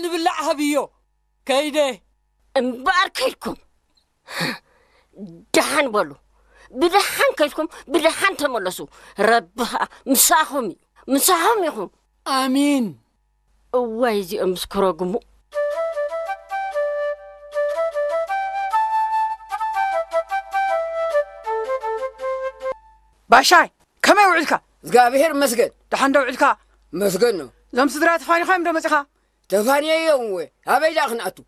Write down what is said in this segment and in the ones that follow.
ንብላዕ ሃብዮ። ከይደ። እምበኣር ከይድኩም ደሓን በሉ። ብደሓን ከይድኩም ብደሓን ተመለሱ። ረቢ ኸኣ ምሳኹም እዩ። ምሳኹም ይኹን። ኣሚን። እዋይ እዚኦም ምስ ክረግሙ። ባሻይ፣ ከመይ ውዒልካ? እግዚኣብሔር ይመስገን። ደሓን ዶ ውዒልካ? መስገን ነው። እዞም ስድራ ተፋኒኻ እዮም ዶ መጺኻ? ተፋንየዮም እወ። ኣበይ ደኣ ክንኣቱ?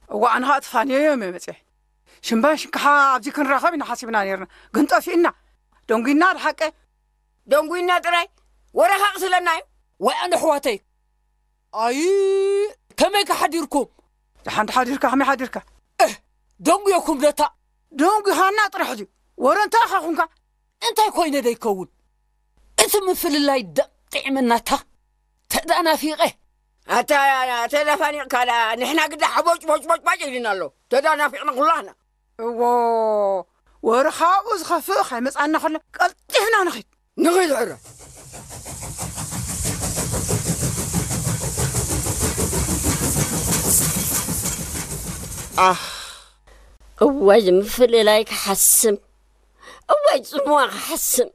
እዋ፣ ኣነ ኸኣ ተፋንየዮም እየ መጺኤ። ሽምባን ሽንካሓ ኣብዚ ክንራኸብ ኢና ሓሲብና ነይርና። ግን ጠፊእና። ደንጒና ድሓቀ። ደንጒና ጥራይ? ወረ ኸኣ ቅስለና እዩ። ወይ ኣነ ኣሕዋተይ። ኣይ፣ ከመይ ከ ሓዲርኩም? ደሓን ሓዲርካ፣ ከመይ ሓዲርካ? እህ፣ ደንጉየኩም ደታ። ደንጒኻና ጥራሕ ድዩ? ወረ እንታይ ኢኻ ኹንካ? እንታይ ኮይነ ደይከውን? እቲ ምፍልላይ ደቂዕመናታ። ተዳናፊቐ። ኣታ፣ ተዳፋኒቕካ ደኣ፣ ንሕና ግዳ ሓቦጭ ቦጭ ቦጭ ቦጭ ኢሉና ኣሎ። ተዳናፊቕና ኩላህና። እዎ፣ ወረ ካብኡ ዝኸፍእ ከይመጻና ከሎ ቀልጢፍና ንኺድ። ንኺድ ሕረ። ኣህ፣ እዋይ ዝምፍልላይ ክሓስም፣ እዋይ ጽምዋ ክሓስም።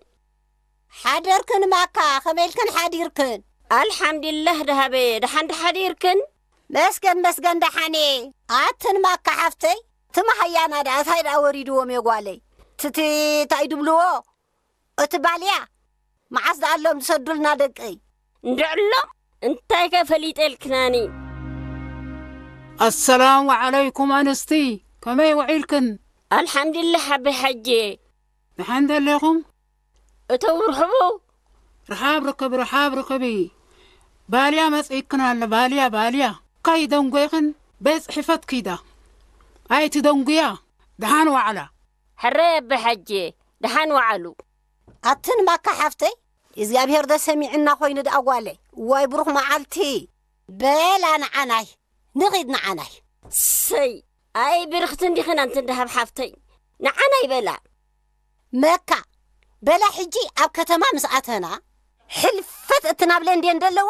ሓደርክን ማካ፣ ከመይ ኢልክን ሓዲርክን? ኣልሓምዱሊላህ ደሃበየ፣ ደሓን ድሓዲርክን? መስገን መስገን ደሓን እየ። ኣትን ማካ ሓፍተይ፣ ትም ሃያና ደኣ እንታይ ደኣ ወሪድዎም እየ ጓለይ? ትቲ እንታይ ድብልዎ? እቲ ባልያ መዓስ ደኣ ኣሎም ዝሰዱልና ደቀይ? እንድዕሎም እንታይ ከ ፈሊጠልክናኒ? ኣሰላሙ ዓለይኩም ኣንስቲ፣ ከመይ ውዒልክን? ኣልሓምዱሊላህ ሓበይ ሓጄ። ደሓን ደለኹም? እተው ርሕቡ። ርሓብ ርክብ፣ ርሓብ ርክቢ። ባልያ መጺእክን ኣሎ፣ ባልያ፣ ባልያ። ካይ ደንጎይኽን ቤት ጽሕፈት ኪዳ። ኣይቲ ደንጉያ፣ ደሓን ዋዕላ። ሕራይ ኣበ ሓጄ፣ ደሓን ዋዕሉ። ኣትን ማካ ሓፍተይ፣ እግዚኣብሔር ዶ ሰሚዕና ኮይኑ ደኣ ጓለይ። ዋይ ብሩኽ መዓልቲ። በላ ንዓናይ፣ ንኺድ ንዓናይ። ሰይ፣ ኣይ ብርኽቲ እንዲኽን ኣንቲ ደሃብ ሓፍተይ። ንዓናይ በላ። መካ፣ በላ ሕጂ ኣብ ከተማ ምስ ኣተና፣ ሕልፈት እቲ ናብ ለንደን ደለዋ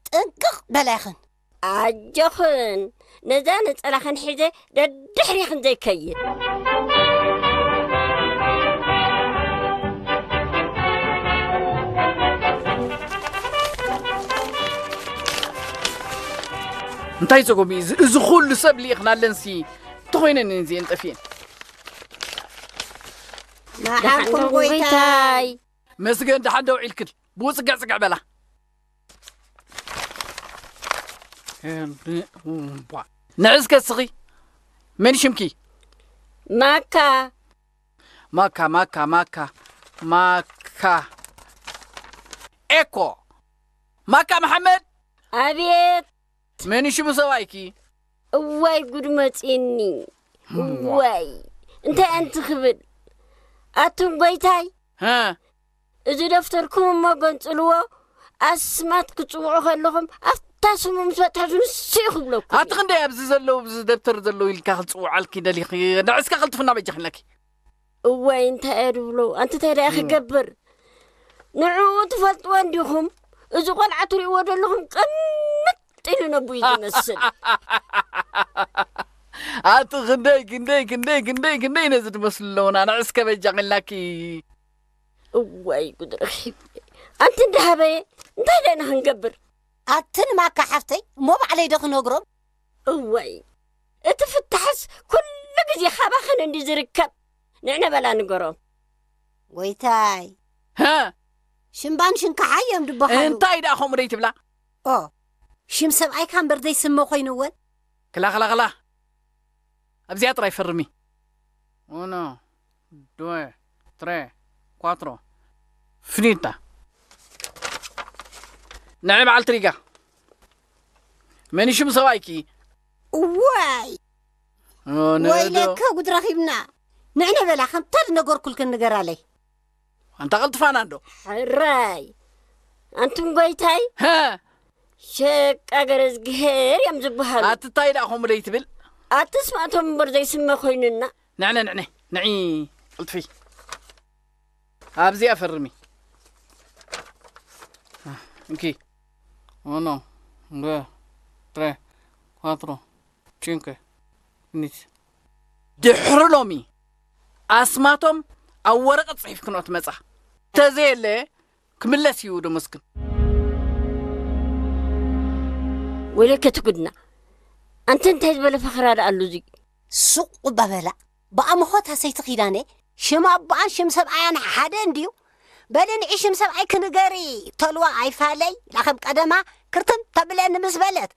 ጥንቅቕ በላ ኢኽን። ኣጆኽን፣ ነዛ ነጸላኽን ሒዘ ደድሕሪኽን ዘይከይድ። እንታይ ጸገም እዩ እዚ? እዚ ኩሉ ሰብ ልኢኽናለንሲ፣ እንተኾይነን እዚኤን ጠፊኤን። ደሓንኩም ደሓንኩም ጎይታይ። ጎይታይ። መስገን ደሓን ደው ኢልክን። ብኡ ጽግዕ ጽግዕ በላ። ንዒ እስከ እስኺ። መን ሽምኪ? ማካ። ማካ፣ ማካ፣ ማካ፣ ማካ። ኤኮ። ማካ መሓመድ። ኣቤት። መን ሽሙ ሰብኣይኪ? እዋይ ጉድ መጺኒ። እዋ። እዋይ። እንታይ ኣንቲ ክብል? ኣቱም ጎይታይ። ሃ። እዚ ደፍተርኩም እሞ ገንጽልዎ። ኣስማት ክትጽውዑ ከለኹም ኣብታ ስሙ ምስ በጽሐ ንሱ እዩ ክብለኩም። ኣቲ ክንደይ ኣብዚ ዘለዉ፣ ኣብዚ ደብተር ዘለዉ ኢልካ ክትጽውዓልኪ ደሊኺ? ንዕስካ ክልጥፍና በጃ ክለኪ። እዋይ፣ እንታይ እየ ድብሎ? ኣንቲ እንታይ ደኣ እም። ክገብር? ንዕኡ ትፈልጥዎ እንዲኹም? እዚ ቆልዓ ትርእይዎ ዘለኹም ቅምጥ ኢሉ ነቡይ ዝመስል። ኣቲ ክንደይ፣ ክንደይ፣ ክንደይ፣ ክንደይ፣ ክንደይ ነዚ ትመስሉ ኣለዉና። ንዕስከ በጃ ክላኪ። እዋይ፣ ጉድ ረኺብ። ኣንቲ እንዳሃበየ እንታይ ደኣ ክንገብር? ኣትን ማካ ሓፍተይ፣ እሞ ባዕለይ ዶ ክነግሮም? እዋይ፣ እቲ ፍታሕስ ኩሉ ግዜ ካባኽን እንዲ ዝርከብ። ንዕነ በላ ንገሮም። ጎይታይ። ሃ? ሽምባን ሽንካሓ እዮም ድበሃሉ። እንታይ ደኣ ከምኡ ደይ ትብላ? ኦ፣ ሽም ሰብኣይካ እምበር ዘይስመ ኮይኑወን። ክላ፣ ክላ፣ ክላ። ኣብዚኣ ጥራይ ፈርሚ። ኡኖ፣ ዱወ፣ ትሬ፣ ኳትሮ። ፍኒታ። ንዒ በዓል ትሪጋ። መን ሽም ሰብኣይኪ? እዋይ! ኦ፣ ነዶ። ወይለከ ጉድ ረኺብና። ንዕነ በላ፣ ከምታ ዝነገርኩልክን ንገራለይ። ኣንታ ቀልጥፋና እንዶ። ሕራይ። ኣንቱም ጎይታይ? ሃ! ሸቃ ገረዝግሄር እዮም ዝበሃሉ። ኣቲ እንታይ ደኣ ከምኡ ደይ ትብል? ኣቲ ስማእቶም እምበር ዘይስመ ኮይኑና። ንዕነ፣ ንዕነ፣ ንዒ፣ ቅልጥፊ። ኣብዚኣ ፈርሚ። እንኪ። ኦኖ፣ እንዶ፣ ትረ፣ Quattro, cinque, quindici. ድሕሪ ሎሚ ኣስማቶም ኣብ ወረቐት ጽሒፍክንኦ ትመጻ። ተዘየለ ክምለስ እዩ ደሞዝክን። ወይለከ ትጉድና። ኣንተ እንታይ ዝበለ ፈኸራ ደኣ ኣሉ እዚ? ሱቕ እባ በላ። ብኣምኾት ኣሰይቲ ኪዳነ፣ ሽም ኣቦኣን ሽም ሰብኣያን ሓደ እንድዩ። በሊ ንዒ ሽም ሰብኣይ ክንገሪ፣ ተልዋ ኣይፋለይ፣ ላኸም ቀደማ ክርትም ተብለኒ ምስ በለት፣